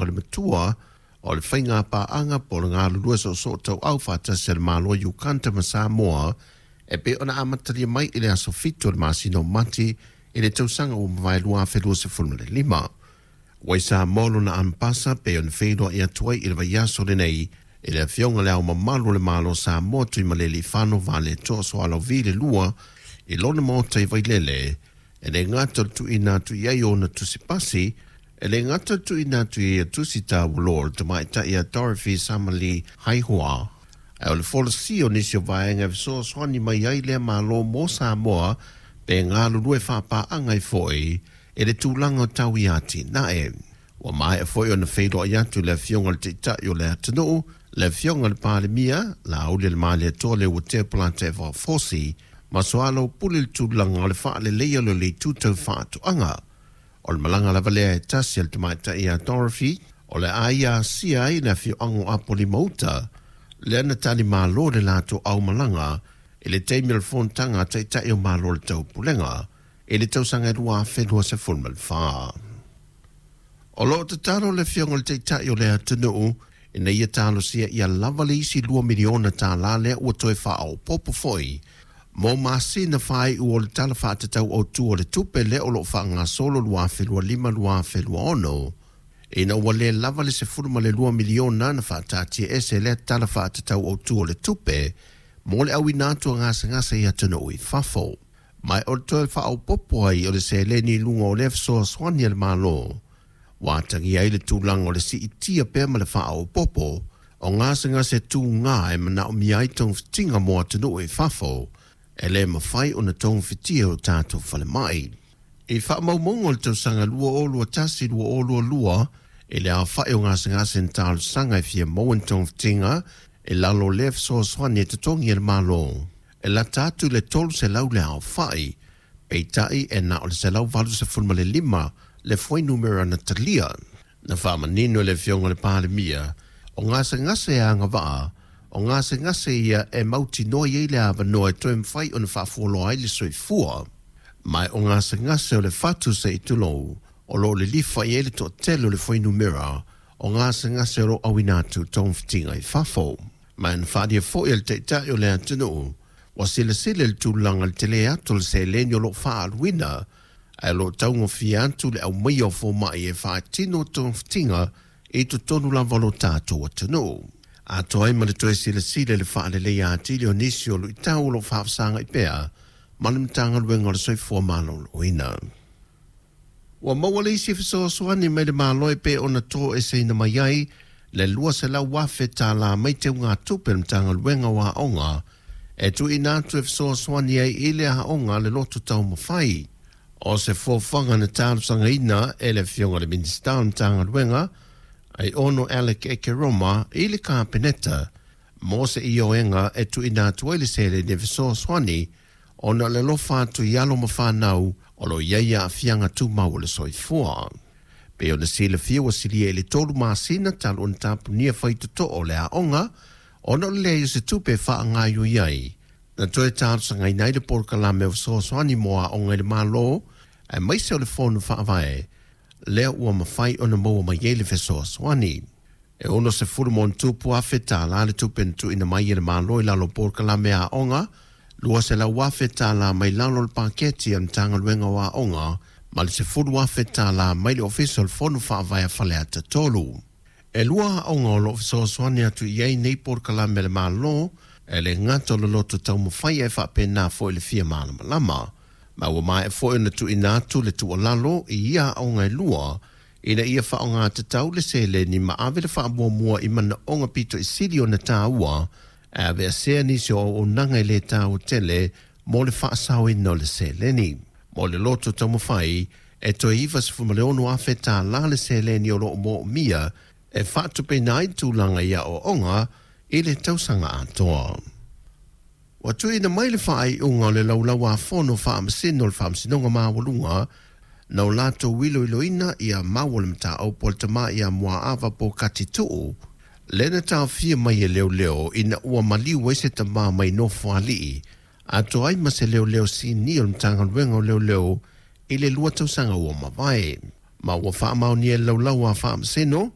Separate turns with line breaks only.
fale matua o le faiga paaga po o le galulue soosoo tauau faatasi a le Malo o Ukanda ma Samoa e pei ona amatalia mai i le aso 7 o le masina o Mati i le tausaga ua mavae 2025. Ua i Samoa lona ampasa pe ona feiloai atu ai i le vaiaso lenei i le Afioga Le Ao Mamalu o le Malo o Samoa Tuimalealiifano Vaaletoa Sualauvi le lua i lona maota i Vailele, e le gata o le tuuina atu i ai ona tusipasi, e le gata o le tuuina atu i ai tusi taualoa o le tamaitai a Dorothy Samali Haihua, ae o le folasia o nisi o vaega e fesoasoani mai ai lea Malo mo Samoa pe galulue faapaaga ai foi i le tulaga o tau i atinae. Ua maea foi ona feiloai atu le Afioga i le Taitai o le atunuu, le Afioga i le Palemia, Laaulialemalietoa Leuatea Polataivao Fosi, ma soalaupule le tulaga o le faaleleia o le itu tau faatoaga. O le malaga lava lea e tasi a le tamaitai ia Dorothy, o le a ia asia ai le afioaga o Apolima-uta, lea na talimalo le latou aumalaga i le taimi o le fonotaga a Taitai o Malo o le Taupulega i le tausaga e 2024. O loo tatalo le Afioga i le Taitai o le atunuu ina ia talosia ia lava le isi 2 miliona tālā lea ua toe faaopoopo foi mo masina faaiu o le Tala Faatatau Autu o le Tupe lea o loo faagasolo 2025/2026, ina ua le lava le 12 miliona na faataatiaese lea Tala Faatatau Autu o le Tupe mo le auina atu o gasegase i atunuu i fafo. Ma o le toe faaopoopo ai o le seleni i luga o lea fesoasoani a le Malo ua atagia ai le tulaga o le siitia pea ma le faaopoopo o gasegase tugā e manaomia ai togafitiga mo atunuu i fafo e le mafai ona togafitia o tatou falemai. I faamaumauga o le tausaga 2021/2022 i le aofai o gasegase na talosaga e fia maua ni togafitiga i lalo o lea fesoasoani e totogi e le Malo, e lata atu le 300 le aofai, peitai e na o le 185 le fuainumera na talia. Na faamanino e le Afioga i le Palemia, o gasegase e agavaa o gasegase ia e mautinoa i ai le avanoa e toe mafai ona faafualoa ai le soifua, ma o gasegase o le fatu se i tulou o loo lilifa i ai le toatele o le fuainumera o gasegase o loo auina atu togafitiga i fafo. Ma na faaalia foi e le Taitai o le atunuu ua silasila le tulaga le tele atu o le seleni o loo faaaluina ae o loo taugofie atu le aumaia o fomai e faatino togafitiga i totonu lava o lo tatou atunuu. Atoa ai ma le toe silasila i le faaleleia atili o nisi o luitau o loo faafesagai pea ma le Matagaluega o le Soifua Maloloina. Ua maua le isi fesoasoani mai le Malo e pei ona toeseina mai ai le 200,000 tālā mai teugatupe le Matagaluega o Aoga e tuuina atu e fesoasoani ai i le aoga le Loto Taumafai. O se fuafuaga na talosagaina e le Afioga i le Minisita o le Matagaluega Aiono Alec Ekeroma i le Kapeneta mo se ioega e tuuina atu ai le seleni e fesoasoani ona o le alofa atu i alo ma fanau o lo o i ai aafiaga tumau o le soifua. Pei ona silafia ua silia i le 3 masina talu ona tapunia faitotoo o le aoga ona o le leai o se tupe e faagaoioi ai. Na toe talosagaina ai le polokalame o fesoasoani mo aoga i le Malo aemaise o le Fono Faavae lea ua mafai ona maua mai ai le fesoasoani. E 60+ tālā le tupe na tuuina mai e le Malo i lalo o polokalame aoga, 200,000 tālā mai lalo o le paketi a le Matagaluega o Aoga, ma le 10,000 tālā mai le Ofisa o le Fono Faavae a Faleata 3. E lua aoga o loo fesoasoani atu i ai nei polokalame a le Malo, e le gata o le Loto Taumafai ae faapena foi le Fia Malamalama. Ma ua maea foi ona tuuina atu le tuualalo i ia aoga e lua ina ia faaaogatatau le seleni ma ave le faamuamua i manaoga pito i sili ona tāua, e aveesea nisi o auaunaga e le taua tele mo le faasaoina o le seleni. Mo le Loto Taumafai, e toe 96,000 tālā le seleni o loo moomia e faatupeina ai tulaga i aoaoga i le tausaga atoa. Ua tuuina mai le faaiuga o le laulau-a-fono faamasino o le Faamasinoga Maualuga na o latou iloiloina ia mau o le mataupu a le tama ia Muaava Pokati Tuu, lea na taofia mai e leoleo ina ua maliu ai se tama mai Nofoalii atoa ai ma se leoleo sinia o le Matagaluega o Leoleo i le 2 tausaga ua mavae. Ma ua faamaonia e le laulau a faamasino